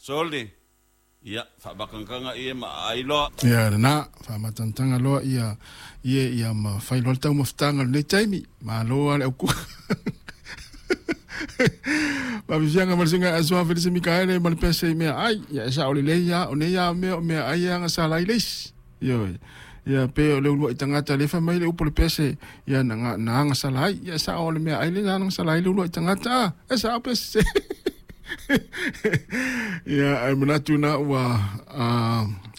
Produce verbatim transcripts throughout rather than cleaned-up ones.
Sole ia faavakagaga ie ma aai loa. Ia lena faamatagataga loa ia ie ia ma fai loa le taumafataga lenei taimi malo a le aukuka. Faafefiaga ma le susuga Asoa Felise Mikaele ma le pese i mea ai ia e sao lelei a o nei a mea o mea ai e agasala ai le isi. Ioe ia pe o le uluai tagata le fai mai le upu le pese ia na na agasala ai ia e sao o le mea ai le na agasala ai le uluai tagata e sao pese. Ia ai manatu na ua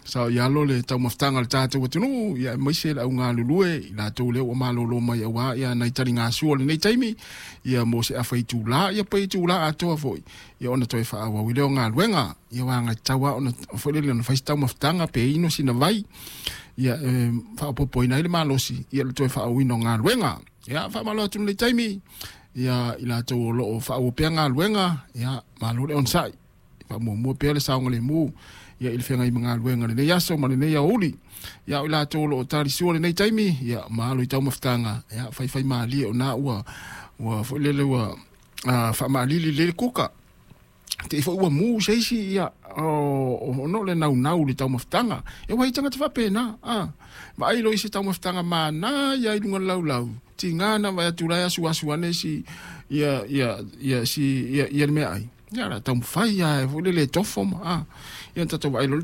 sao i alo le taumafataga o le tatou atunuu ia aemaise le augalulue i latou lea ua malolo mai auā ia nai taligasua o lenei taimi ia mo se afa itulā ia pe itulā atoa foi ia ona toe faaauau i lea o galuega ia ua agatatau lava ona foi lele ona fai se taumafataga pe inu sina vai ia e faaopoopoina ai le malosi ia le toe faaauauina o galuega. Ia faamalo atu i lenei taimi ia i latou o loo faaauau pea galuega ia malo le onosai faamuamua pea le saogalemu ia i le feagai ma galuega lenei aso ma lenei aoauli. Ia o i latou o loo talisua lenei taimi ia malo i taumafataga ia faifai malie ona ua ua foi lele ua faamaalili lelei le kuka. Te i foi ua mu se isi ia o no le naunau i le taumafataga. E ua i tagata faapena a vaai loa i se taumafataga mana ia i luga o le laulau tiga na vaai atu la e asuasu ane si ia ia ia si ia ia le meaai ia o le a taumafai lava foi lele e tofo ma a ia na tatou vaai loa